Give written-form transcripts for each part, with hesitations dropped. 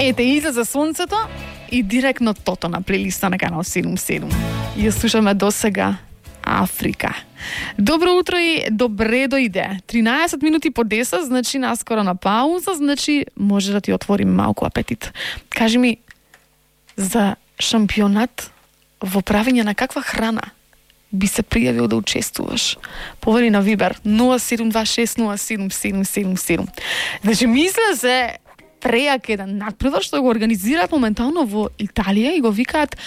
Ете, излезе сонцето и директно тото на плейлиста на канал 77. Ја слушаме досега Африка. Добро утро и добре дојде. 13 минути по 10, значи наскоро на пауза, значи може да ти отвори малку апетит. Кажи ми, за шампионат во правење на каква храна би се пријавил да учествуваш? Повери на Вибер 0726077777. Значи мисля се прејак еден надпревар што го организираат моментално во Италија и го викаат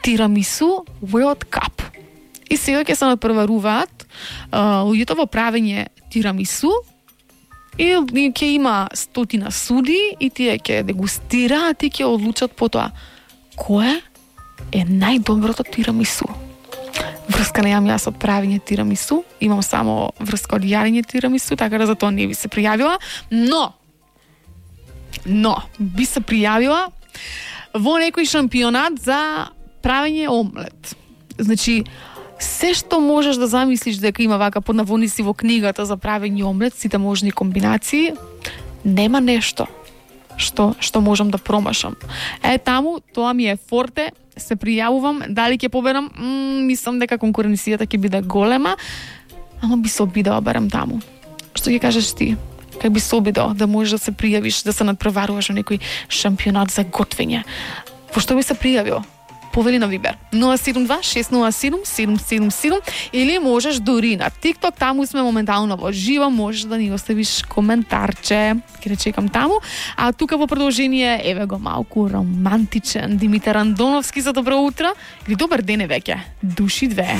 Тирамису World Cup. И сега ќе се надпреваруваат луѓето во правење тирамису и ќе има 100 суди и тие ќе дегустираат и ќе одлучат по тоа кое е најдоброто тирамису. Врска немам јас од правење тирамису, имам само врска од јарење тирамису, така да за тоа не би се пријавила, но би се пријавила во некој шампионат за правење омлет. Значи, се што можеш да замислиш дека има вака под наводници во книгата за правење омлет, сите можни комбинации, нема нешто што можам да промашам. Таму, тоа ми е форте, се пријавувам, дали ќе победам, мислам дека конкуренцијата ќе биде голема, ама би се обидела барем таму. Што ќе кажеш ти? Как би се обидел да можеш да се пријавиш, да се надпреваруваш во некој шампионат за готвење? Во што би се пријавил? Повели на Вибер 072-607-777 или можеш дури на TikTok, таму сме моментално во живо, можеш да ни оставиш коментарче, ќе не чекам таму. А тука во продолжение, еве го малку романтичен Димитар Андоновски за добро утро или добар ден е веќе, души две.